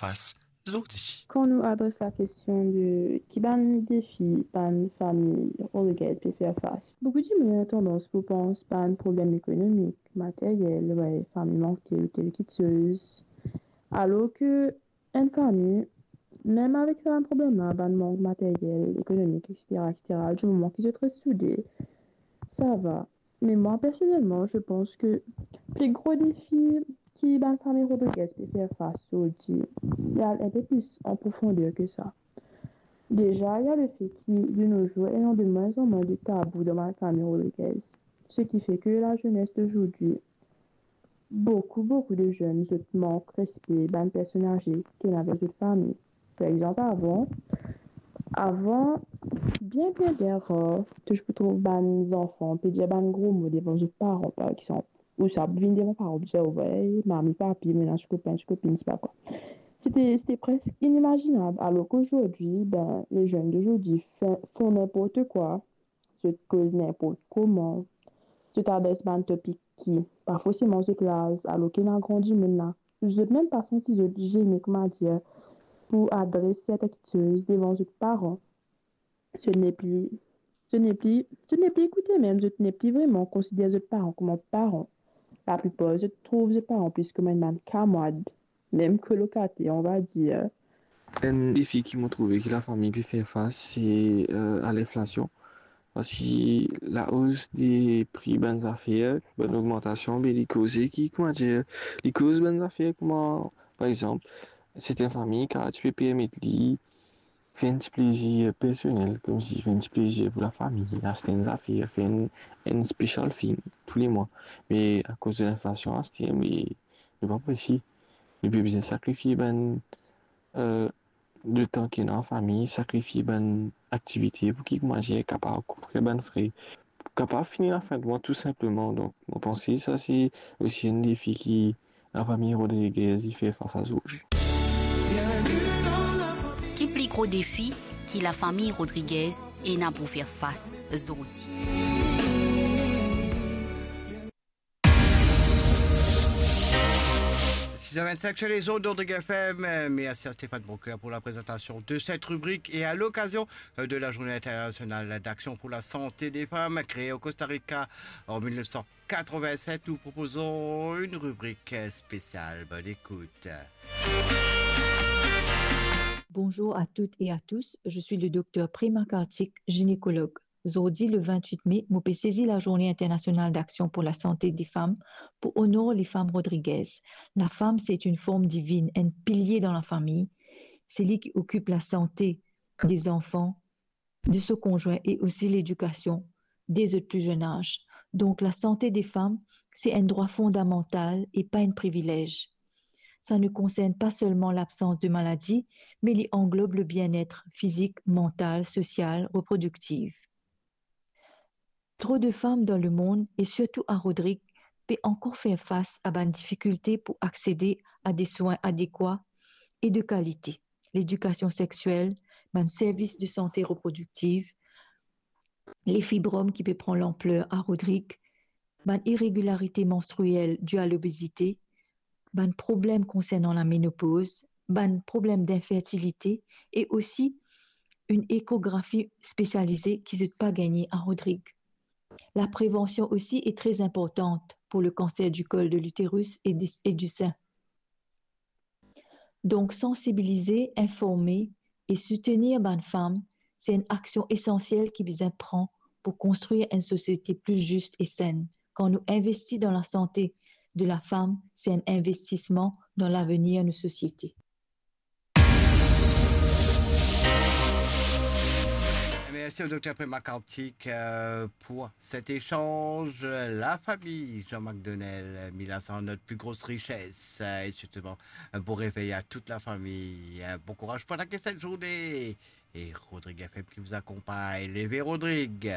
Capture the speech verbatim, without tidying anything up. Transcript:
fas zordi. Kan nou adres lakestion de ki bann defi bann fami Rodriguez pe fer fas, boukou dimoun ena tandans pou pans bann problem ekonomik, materyel, wey, fami mank tel ou tel kiksoz. Alor ke enn fami, mem avek sa bann problem la, bann mank materyel, ekonomik, etsetera, etsetera, di moman ki zot res soude, sa va. Me mwa, personelman, je pense ke pli gro defi ki bann fami Rodriguez pe fer fas zordi, li al enpe plis an profonder ke sa. Deza, il y a le fait ki, de nos jours, ena de moins en moins de tabou dan bann fami Rodriguez, ce qui fait que la jeunesse d'aujourd'hui, boukou, boukou de zenn, zot mank respe bann personn aze ki ena avek zot fami. Par exanp, avan, avan, bien, bien, bien rar, to ti pou trouv bann zanfan pe dir bann gro mo devan zot paran, par exanp. Ou sa vinn devan paran, dir, wey, mami, papi, mo ena ti kopin, ti kopinn, sepa kwa. Sete, sete preske inimazinab, alor ki zordi, ben, les jeunes d'aujourd'hui font, font n'importe quoi, zot koz ninport kouma, zot adres bann topik ki pa forseman zot laz, alor ki ena gran dimoun la, zot mem pa santi zot zene, koumadir, pou adres sertin kiksoz devan zot paran. Zot nepli, zot nepli, zot nepli ekoute mem, zot nepli vreman konsider zot paran kouma paran. Laplipar zot trouv zot paran plis kouma enn bann kamrad, mem kolokater, on va dir. Enn defi ki mo trouve ki lafami pe fer fas, se, euh, a linflasion. Parski laos de pri bann zafer, bann ogmantasion, be li koze ki, koumadir, li koz bann zafer kouma, par exanp, sertin fami kapav ti pe permet li fer enn ti plezir personel, koumsi fer enn ti plezir pou lafami, aste enn zafer, fer enn, enn special thing toulemwa. Me akoz de linflasion, aster, me, me pa posib. Li pe bizin sakrifie bann, euh, letan ki ena an fami, sakrifie bann aktivite pou ki, koumadir, kapav kouvrir bann fre, pou kapav fini lafin de mwa tou sinpleman. Donk, mo panse sa se osi enn defi ki lafami Rodriguez i fer fas a zordi. Ki pli gro defi ki lafami Rodriguez ena pou fer fas zordi? Six heures vingt-cinq sur les ondes d'Ordrigue F M. Merci à Stéphane Broqueur pour la présentation de cette rubrique et à l'occasion de la Journée internationale d'action pour la santé des femmes créée au Costa Rica en mille neuf cent quatre-vingt-sept, nous proposons une rubrique spéciale. Bonne écoute. Bonjour à toutes et à tous, je suis le docteur Prema Kartik, gynécologue. Zordi, le vingt-huit mai, mo pe sezi Lazourne Internasional Daksion pou Lasante de Fam pou onor lefam Rodriguez. Lafam, se enn form divinn, enn pilie dan lafami. Se li ki okip lasante de zanfan, de so konzwin e osi ledikasion de zot pli zenn az. Donk, lasante de fam, se enn drwa fondamantal e pa enn privilez. Sa ne konsern pa selman labsans de maladi, me li anglob le bien-être fizik, mantal, sosial, reprodiktif. Tro de fam dan lemond, e sirtou a Rodrig, pe ankor fer fas a bann difikilte pou aksede a de swin adekwa e de kalite, ledikasion sexiel, bann servis de sante reprodiktif, lefibrom ki pe pran lanpler a Rodrig, bann iregilarite manstriel di a lobezite, bann problem konsernan lamenopoz, bann problem dinfertilite e osi enn ekografi spesialize ki zot pa gagne a Rodrig. Laprevansion osi e tre inportan pou le kanser di kol de literis e di, e di sin. Donk, sansibilize, informe e soutenir bann fam, se enn aksion esansiel ki bizin pran pou konstrir enn sosiete pli zis e senn. Kan nou investi dan lasante de lafam, se enn investisman dan lavenir nou sosiete. Merci au docteur Prema Kartik, euh, pour cet échange. La famille, Jean-Marc Donnel, Mila, c'est notre plus grosse richesse. Euh, et justement, un bon réveil à toute la famille. Un bon courage pour la cette journée. Et Rodrigue F M qui vous accompagne. Leve Rodrigue.